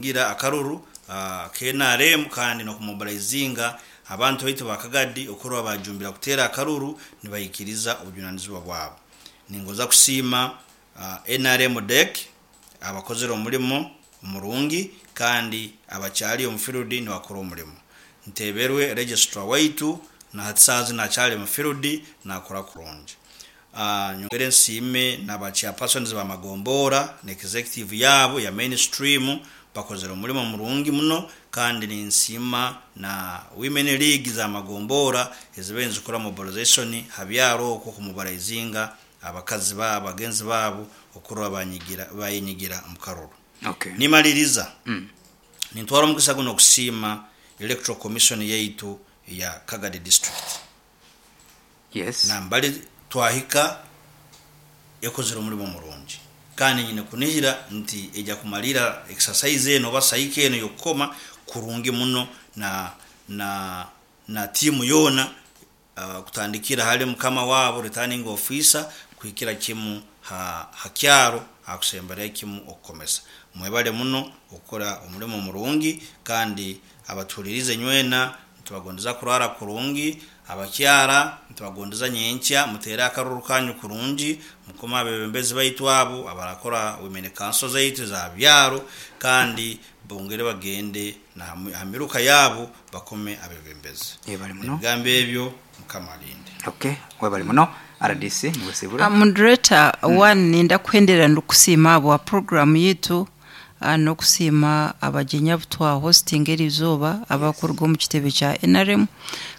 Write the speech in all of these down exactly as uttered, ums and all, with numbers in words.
Okugira akaruru uh, ka N R M kandi n'okumobilizinga abantu baitu ba Kagadi okurora bajumbira kuteera akaruru nibayikiriza obujunanizibwa bwabo. Ningoza kusiima uh, N R M D E C abakozere omurimo murungi kandi abakyali omu field nibakora omurimo. Nteberwe registrar waitu, na hati saaha zinu akyali omu field nakora kurungi. uh, nyongere nsiime n'aba chairpersons bamagombora na executive yabo ya mainstream, bakozere omurimo murungi muno. Kandi ninsiima na women league za magombora ezibaire nizikora mobilization ha byaro okwo, kumobilizinga abakazi babo bagenzi babo okurora banyigira bayenyigira omu karuru. Okay. Nimaliriza, Mm. nintwara omugisa guno okusiima Electoral Commission yaitu ya Kagadi District. Yes. Nambali twahika ekozere omurimo murungi, kandi nyine kunihira nti ejya kumalira exercise eno oba cycle eno yokukoma kurungi muno na na na tiimu yoona, uh, kutandikira hali mukama wabo returning officer kuhikira kimu ha, ha kyaro akusemberayo kimu okukomesa. Mwebale muno okukora omurimo murungi, kandi abatuhulirize nywena nitubagondeza kurara kurungi. Abakyara nitubagondeza nyenkya mutere akaruru kanyu kurungi, mukome abebembezi baitu abo abarakora women council zaitu za byaro, kandi bongere bagende na ha miruka yabo bakome abebembezi. Yebale muno. Ebigambo ebyo, Mukama alinde. Okay, webale muno R D C, niwesibura. Uh, moderator mm. One, ninda kuhendera ndikusiima abo program yitu, uh, n'okusiima abagyenyi abu twa hosting eri izooba abakuruga omu kitebe kya N R M,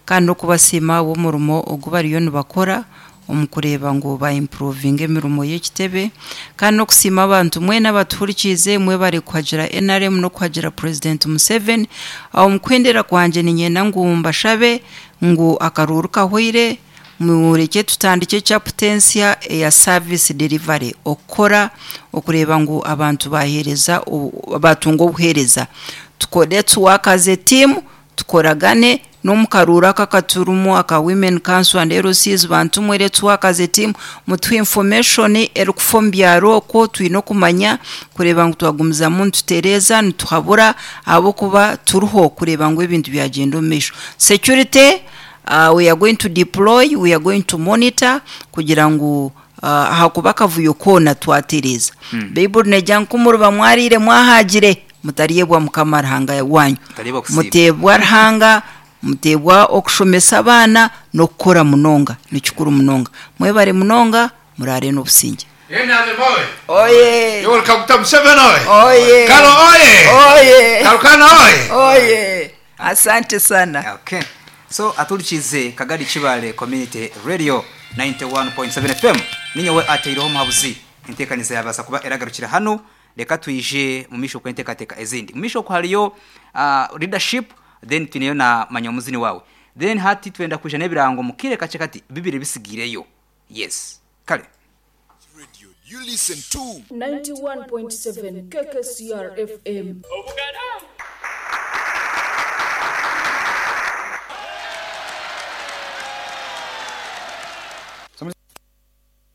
kandi n'okubasiima ab'omurimo ogu bariyo nibakora omu kureeba ngu ba improvinga emirimo y'ekitebe, kandi n'okusiima abantu mwena abatuhurikiize. Mwebare kuhagira N R M n'okuhagira President Museveni. Aho omu kuhendera kwangye, niinyenda ngu mbashabe ngu akaruuru kahweire, mureke tutandike chapter ensya eya service delivery, okukora okureeba ngu abantu baheereza, batunga obuheereza. Tukore, let's work as a team, tukoragane n'omu karuuru aka akaturimu aka women council and L Cs. Bantu mwe, let's work as a team, mutuhe information erikufa omu byaro okwo. Twine okumanya kureeba ngu twagumizamu nitutereeza, nituhabura, ahabw'okuba turiho kureeba ngu ebintu byagenda omu maisho. Security, uh, we are going to deploy, we are going to monitor kugira ngu uh, ahakuba akavuyo koona twatereeza. mm. Baibuli negira ngu kumuriba mwariire mwahagire, mutaryebwa Mukama Ruhanga wanyu. Mutaryebwa kusiiba. Muteebwa Ruhanga, muteebwa okushomesa abaana n'okukora munonga, nikikuru munonga. Mwebare munonga, murare n'obusingye. N R M oye! Oye! Yoweri Kaguta Museveni oye! Oye! Karo oye! Oye! Karukana oye! Oye! Asante sana. Okay, so aturikize Kagadi Kibale Community Radio ninety-one point seven F M, ninyowe ateireho omuhabuzi. Enteekaniza yabaasa kuba eragarukira hano. Reka twije mu misho kwenteekateeka ezindi. Mu misho hariyo uh, leadership, then twineyo na manya omuzini wawe, then hati twenda kuja n'ebirango mukire kache kati bibiri bisigireyo. Yes, kale. Radio you listen to. ninety-one point seven K K C R F M. Obuganda.